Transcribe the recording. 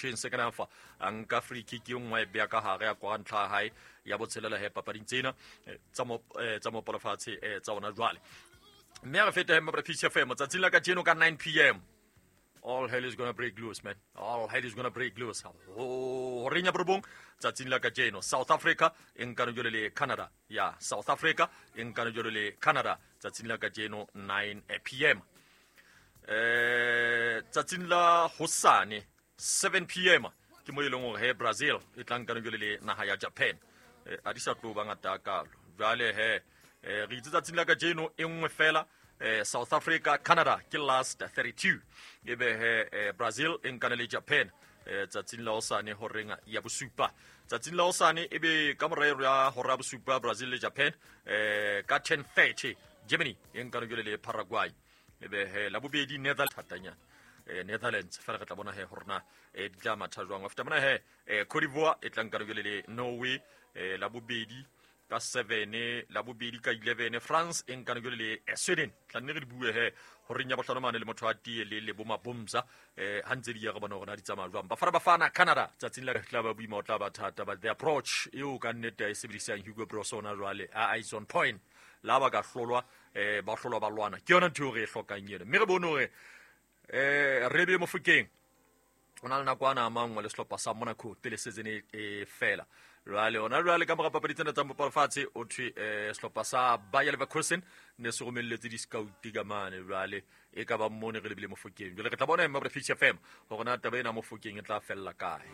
bentšheng second half a nka free kick e nngwe a e beya ka gare a kwa ntlha ya hae ya botshelela he papading tsena tsa mopolofatshe tsa ona jwale. Mme a re fete he Mabra FM tsatsing la kajeno ka 9 p.m. All hell is gonna break loose, man. All hell is gonna break loose. Ho reng ya borobong tsatsing la kajeno South Africa e nkano jwale le Canada. Ya South Africa e nkano jwale le Canada tsatsing la kajeno 9 p.m. Tsatsing la hosane 7 p.m. ke mo e leng hore he Brazil e tla nkano jwale le naha ya Japan. A di sa tlo ba ngata kalo jwale he re itse tsatsing la kajeno e nngwe fela, South Africa Canada ke last 32, ebe he Brazil e nkane le Japan tsatsing la hosane horeng ya bosupa. Tsatsing la hosane ebe ka morero ya hora ya bosupa Brazil le Japan, ka 10:30 Germany e nkane jwale le Paraguay, ebe he la bobedi Netherlands thatanyana Netherlands fela re tla bona he hore na di tla matha jwang. After mona he Cote d'Ivoire e tla nkane jwale le Norway la bobedi ka 7, la bobedi ka 11 France e nkane jwale le Sweden. Tla nne re di bue he horeng ya bohlano mane le motho a tie le le bo mabomza ha ntse di ya re bona hore na di tsamaya jwang. Bafana Bafana Canada tsatsing la tla ba boima, o tla ba thata, but the approach eo ka nnete a e sebedisang Hugo Broos ona jwale a is on point. La ba ka hlolwa ba hlolwa ba lwana, ke yona ntho eo re e hlokang eno. Mme re bone hore re be Mofokeng o na le nako ana a mangwe le sehlopha sa Monaco pele season e fela. Jwale ona jwale ka mora papadi tsena tsa mopalofatshe o thwe sehlopha sa Bayer Leverkusen ne se romelletse di-scout ka mane, jwale e ka ba mone re lebile Mofokeng. Jwale re tla bona Mabra Fish FM hore na taba ena Mofokeng e tla fella kae.